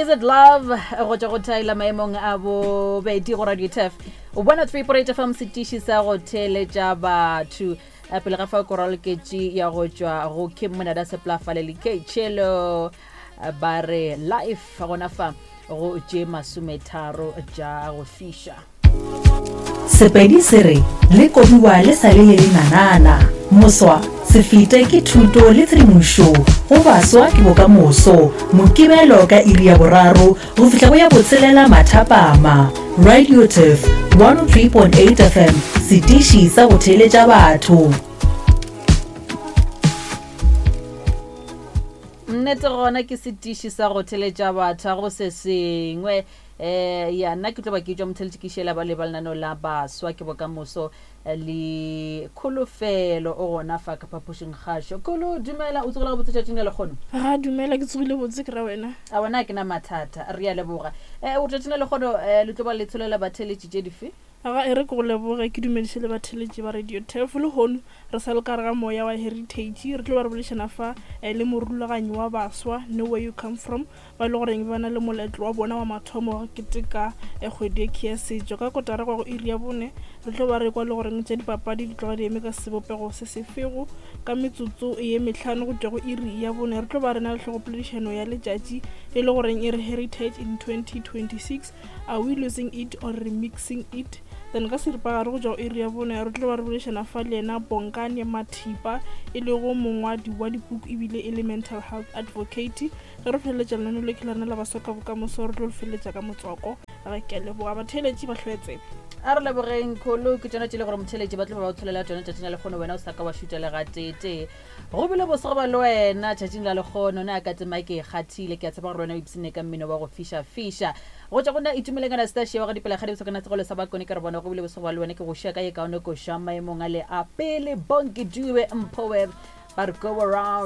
Is it love go tšwa go Tyler maemong a bobedi go Radio Turf 103.8 FM setiši sa go theeletša batho Eh, pele ga fa koraloketši ya go tšwa go Kim Monada Seplafale le K Chelo eh, ba re life gona fa go tše masometharo tša go fiša Sepedi se re le kobiwa le sa le le lenanana. Moswa, se fete ke thuto le tshedimošo go baswa ke bokamoso. Mokibelo ka iri ya boraro go fihla go ya botshelela mathapama. Radio Turf 103.8 FM, setiši sa go theeletša batho. Nnete gona ke setiši sa go theeletša batho, ga go se sengwe. Eh, ya nna ke tlo ba ke tšwa motheletši ke šela ba leba lenaneo la baswa ke bokamoso eh, le kholofelo o gona fa ka phapošing kgašo. Kholo, dumela, o tsogile gabotse tšatšing la lekgono? Ga dumela, ke tsogile botse ke ra wena. A wena ke na mathata, re a leboga. Eh, o tšatšing la lekgono eh, le tlo ba le tsholela batheletši tše dife? Ga e re ke go leboge ke dumediše le batheletši ba Radio Turf. Lehono re sa le ka gare ga moya wa Heritage, re tlo ba re boledišana fa eh, le morulaganyi wa baswa Know Where You Come From ba e le goreng ba na le moletlo wa bona wa mathomo wa go keteka eh, kgwedi ye ya setšo. Ka kotara go ya go iri ya bone re tlo ba re kwa le goreng tša dipapadi di tloga di eme ka sebopego se sefego. Ka metsotso ye mehlano go tšwa go iri ya bone re tlo ba re na le hlogopoledišano ya letšatši e le goreng e re Heritage in 2026, are we losing it or remixing it? Then ka seripagare go tšwa go iri ya bone re tlo ba re boledišana fa le yena Bongani Mathipa e lego mongwadi wa dipuku ebile e le mental health advocate. Ge re feleletša lenaneo le ke lona la Baswa ka Bokamoso, re tlo le feleletša ka motswako. Re ke a leboga batheeletši ba hloe tsebe. A re lebogeng Kholo, ke tšona tše le gore motheeletši ba tlo ba ba o tsholela tšona tšatšing la lekgono, wena o sa ka wa šuta le gateetee. Go bile bose go ba le wena tšatšing la lekgono, na ka tsema ke e kgathile, ke a tshepa gore le wena o ipshinne ka mmino wa go fiša-fiša. Go tšwa go nna Itumeleng Anastasia wa ga Dipelakgadi Bosokana Segolo sa Bakone, ke re bona go bile bose go ba le wena, ke go šia ka ye kaone koša maemong a le a pele. Bonke Dube Mpho Web ba re go around.